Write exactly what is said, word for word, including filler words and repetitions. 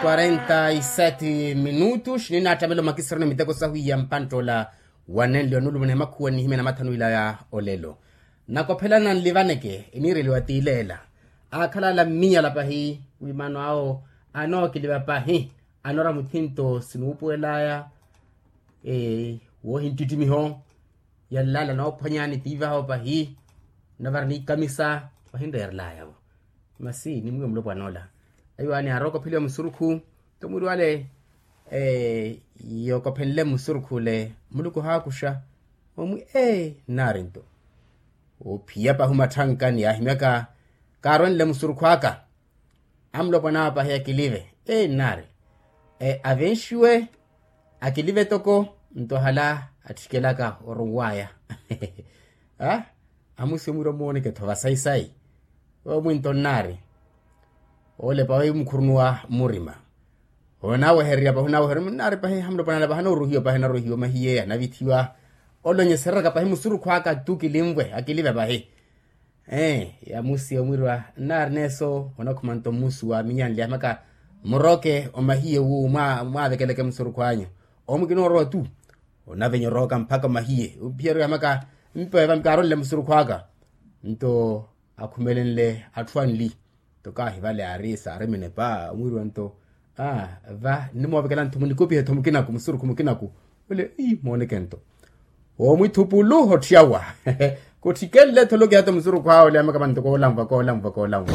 Quarenta e sete minutos ninattamela omakisirano miteko sahu iya mpantta ola wanenle onulumuna emakhuwa nihimya na mathanu ila ya olelo. Nakophelana nlivaneke eniireliwa tiileela akhalala mminyala pahi wimano awo anookiliva pahi. Anoora muthinto sinuupuwelaya woohinttittimiho yallala noophwanyani tiivaho pahi. Navara niikamisa vahinreerelaya-vo masi nimwiwe mulopwana ola. Ayiwaani aarokopheliwa musurukhu nto mwiri wale yookophenle musurukhu ole muluku ohaakuxa omwi ee nnaari nto oophiya pahi omatthankani yaahimyaka kaarwenle musurukhu aka. Amulopwana awo pahi akilive ee nnaari avenxiwe akilive toko nto hala atthikelaka oronwaya. Amusi omwira omooneke-tho vasayisayi omwinto nnaari oolepa wimukhurunuwa murima. Onaawehererya pahi onaawehererya nnaari pahi hamulopwana ala pahi anooruhiwa pahi anaruhiwa mahiye anavithiwa olonyesereraka pahi musurukhu aka tu kilinvwe akilive pahi. Ee yamusi omwirwa nnaari neeso onakhuma nto mmusu wa minyanle yahimaka murooke omahiye wu mwaavekeleke musurukhu anyu omwi kinoorowa tu. Onavenya orooka mpakha omahiye ophiyerya yahimaka mpewe va mikaaronle musurukhu aka nto akhumelenle atthu anli nto kaahi vale aari saari minepa omwirwa nto va nnimoovekela ntho munikupihe-tho mukinaku musurukhu mukinaku. Ole ii mooneke nto omwithupulu otthiyawa kotthikelle-tho olokiha-tho musurukhu awo ole yamaka vanto koolanvwa koolanvwa koolanvwa.